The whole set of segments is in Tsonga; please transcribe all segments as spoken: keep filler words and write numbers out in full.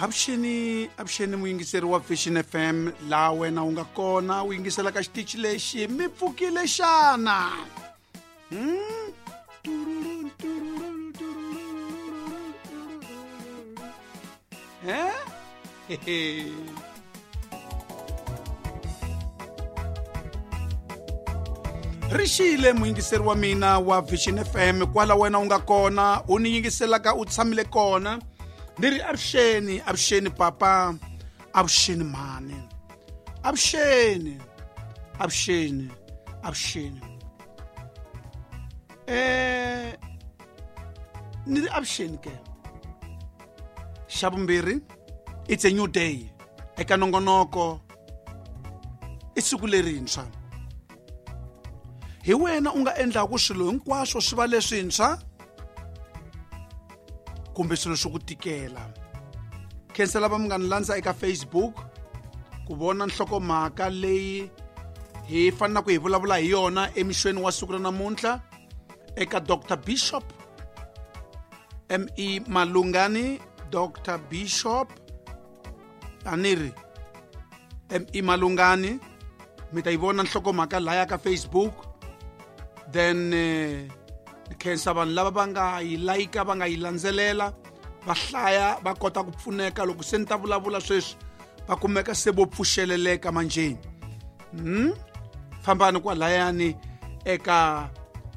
Avuxeni, avuxeni muyingiseri wa Vision F M laha wena u nga kona u yingisela ka xitichi lexi mi pfukile xana? Hmm? Eh? Rixile muyingiseri wa mina wa Vision F M kwala wena u nga kona u ni yingiselaka u tshamile kona. Ni ri avuxeni, avuxeni papa, avuxeni mhani, avuxeni, avuxeni, avuxeni. Eh ni ri avuxeni ke. Xa vumbirhi, it's a new day. Eka nongonoko i siku lerintshwa. Hi wena u nga endlaku swilo hinkwaswo swi va leswintshwa kumbe swilo swi ku tikela. Khensela va mi nga ni landza eka Facebook ku vona nhlokomhaka leyi hi fanelaka hi vulavula hi yona emixweni wa siku ra namuntlha eka Doctor Bishop M E Malungani. Doctor Bishop aniri M E Malungani, mi ta yi vona nhlokomhaka laya ka Facebook. Then eh, khensa vanhu lava va nga yi layika, va nga yi landzelela, va hlaya, va kota ku pfuneka loko se ni ta vulavula sweswi va kumeka se vo pfuxeleleka manjeni. Hmm? Fambani kwalayani eka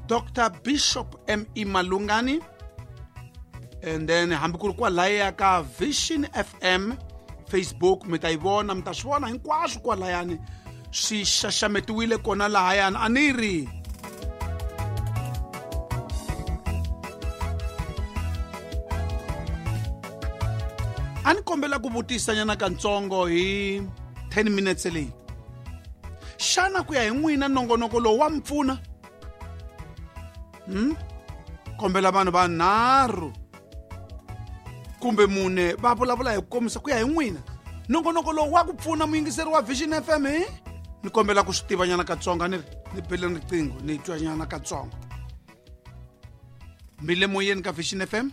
Doctor Bishop M E Malungani, and then hambi ku ri kwalaya ka Vision F M Facebook mi ta yi vona, mi ta swi vona hinkwaswo kwalayani swi xaxametiwile kona lahayani. A ni ri a ni kombela ku vutisa nyana katsongo hi ten minutes leyi. Xana ku ya hi n'wina nongonoko lowu wa mi pfuna? Hmm? Kombela vanhu vanharhu kumbe mune va vulavula hi ku komisa ku ya hi n'wina nongonoko lowu wa ku pfuna muyingiseri wa Vision F M. Hi ni kombela ku swi tiva nyana katsongo, ni ri ni bele riqingho ni twa nyana katsongo. Mi le moyeni ka Vision F M?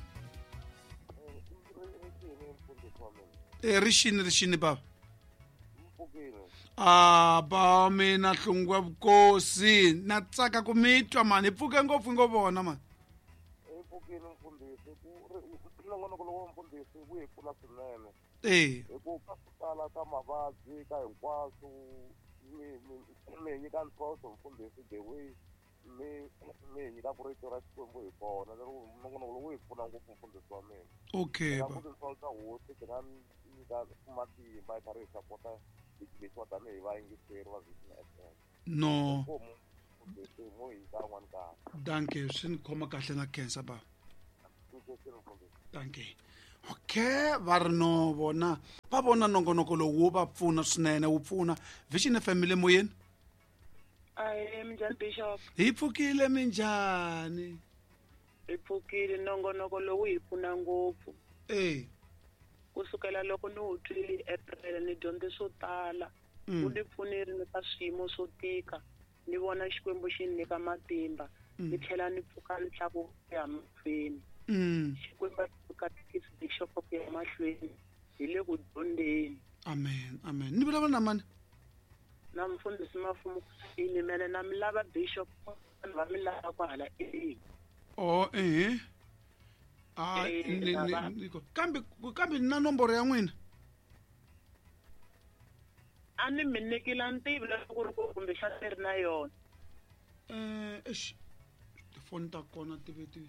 Eh, rixini, rixini baba. Ah, ba mina Hlungwa Vukosi, na tsaka ku mi twa mani, hi pfuke ngopfu ngo vona mani. Hi pfukile mfundhisi, ku nongonoko lowu wa mfundhisi wu hi pfuna swinene. Eh. Hi ku ka ku tala ka mavabyi ka hinkwaswo, mi mi hi nyika ntlhontlho mfundhisi the way mi mi hi nyika ku rito ra Xikwembu hi kona, lero nongonoko lowu wu hi pfuna ngopfu mfundhisi wa mina. Okay. Ka ku tintswalo ta hosi ti nga nyika matimba hi karhi hi sapota leswiwa tanihi vayingiseri va Vision F M. No. Mfundhisi mo hi nyika un'wana nkarhi. Dankie, swi ni khoma kahle na khensa baba. Dankie. Okay, va ri no vona va vona nongonoko lowu wu va pfuna swinene, wu pfuna Vision F M le moyeni. Ahee, minjhani Bishop? Hi pfukile, minjhani? Hi pfukile, nongonoko lowu hi pfuna ngopfu. Eh. Kusukela loko ni wu twile hi April ni dyondze swo tala. Mm. Wu ni pfunile ni ka swiyimo swo tika. Ni vona Xikwembu xi ni nyika matimba. Mm. Ni tlhela ni pfuka ni tlakuka ku ya mahlweni. Mm. Xikwembu xi katekisa Bishop ku ya mahlweni. Hi le ku dyondzeni. Amen, amen. Ni vulavula na mani? Na mfundhisi Mafumo Kusini, mene na mi lava Bishop, vanhu va mi lava kwahala eEngland. Oh, eh. Ah, Eh, ni, ni, baba. ni, kambe, kambe ni na nomboro ya n'wina? A ni mi nyikile ntivo loko ku ri ku kumbexana ni ri na yona. Eh, eish, tifoni ta kona ti ve ti,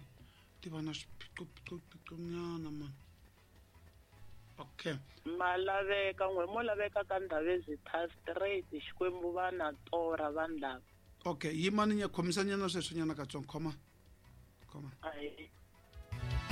ti va na swiphiqophiqo nyana mani. Okay. Ma laveka n'we, mo laveka ka Ndhavezitha straight, Xikwembu va na torha vanhu lava. Okay, yimani nya khomisa nyana sweswo nyana katsongo, khoma. Khoma. Ahee.